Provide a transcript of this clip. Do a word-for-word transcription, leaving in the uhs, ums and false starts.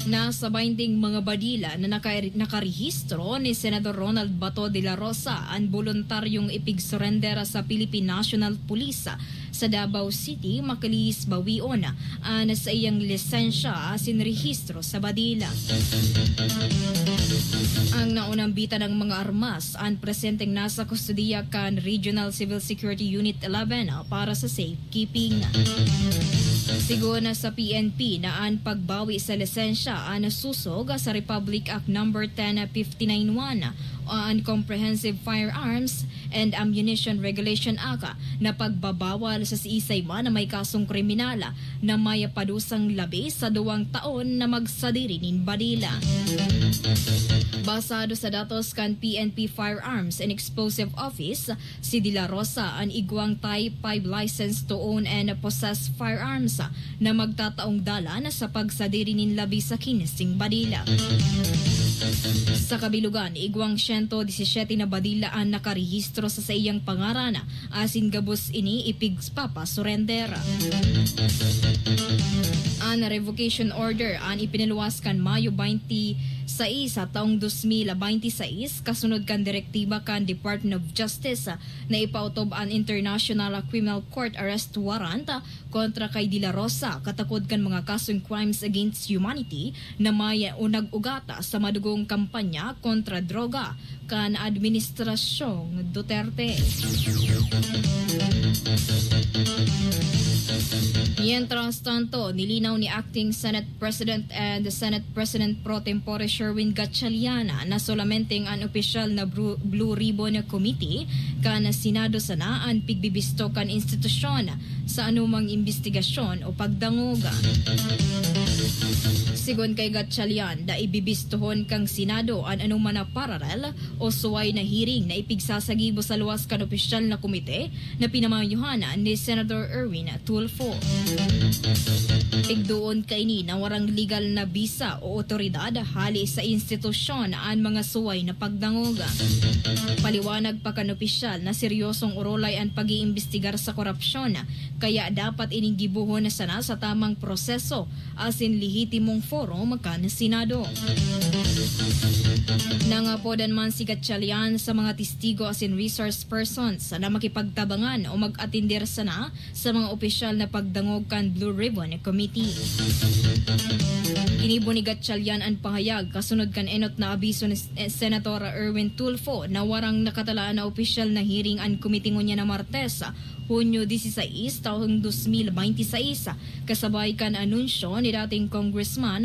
Nasa baynting mga badila na naka-, nakarehistro ni Senador Ronald Bato de la Rosa an boluntaryong ipigsurender sa Philippine National Police sa Davao City, makalihis bawion an saiyang lisensya asin rehistro sa badila. Ang naunambitan ng mga armas an presenteng nasa kustodiya kan Regional Civil Security Unit eleven para sa safe keeping. Sigon sa P N P na an pagbawi sa lisensya an susog sa Republic Act Number ten fifty-nine one o an Comprehensive Firearms and Ammunition Regulation Act na pagbabawal sa siisay man na may kasong kriminal na may padusang labi sa duwang taon na magsadiri nin badila. Basado sa datos kan P N P Firearms and Explosive Office, si De La Rosa an igwang Type five license to own and possess firearms na magtataong dalan sa pagsadiri nin labi sa kinsing badila. Sa kabilugan, igwang siyento disisete na badila an nakarehistro sa saiyang pangaran, asin gabos ini ipigpapasurender. An revocation order an ipinaluwas kan Mayo twenty-six sa taong dos mil bente seis, kasunod kan direktiba kan Department of Justice na ipautob an International Criminal Court arrest warrant kontra kay De La Rosa, katakod kan mga kasong crimes against humanity na may o nag-ugat sa madugong kampanya kontra droga kan Administrasyong Duterte. Mientras tanto, nilinaw ni Acting Senate President and Senate President Pro Tempore Sherwin Gatchalian na solamenteng an opisyal na Bru-, Blue Ribbon Committee kan Senado sana an pigbibisto kan institusyon sa anumang imbestigasyon o pagdangog. Sigon kay Gatchalian, dai bibistohon kan Senado an anoman na paralel o suway na hearing na ipigsasagibo sa luwas kan opisyal na komite na pinamayohan ni Senador Erwin Tulfo. Pigdoon kaini na warang legal na bisa o otoridad hali sa institusyon an mga suway na pagdangog. Paliwanag pa kan opisyal na seryosong orolay an pag-iimbestigar sa korupsyon, kaya dapat ining gibohon na sana sa tamang proseso asin lehitimong forum kan Senado. Nangapodan man si Gatchalian sa mga testigo asin resource persons na makipagtabangan o mag-atender sana sa mga opisyal na pagdangog kan Blue Ribbon Committee. Ginibo ni Gatchalian an pahayag kasunod kan enot na abiso ni S-, eh, Senator Erwin Tulfo na warang nakatalaan na opisyal na hearing an komite ngunyan na Martes, Hunyo dieciséis, taong dos mil bente seis, kasabay kan anunsyo ni dating Congressman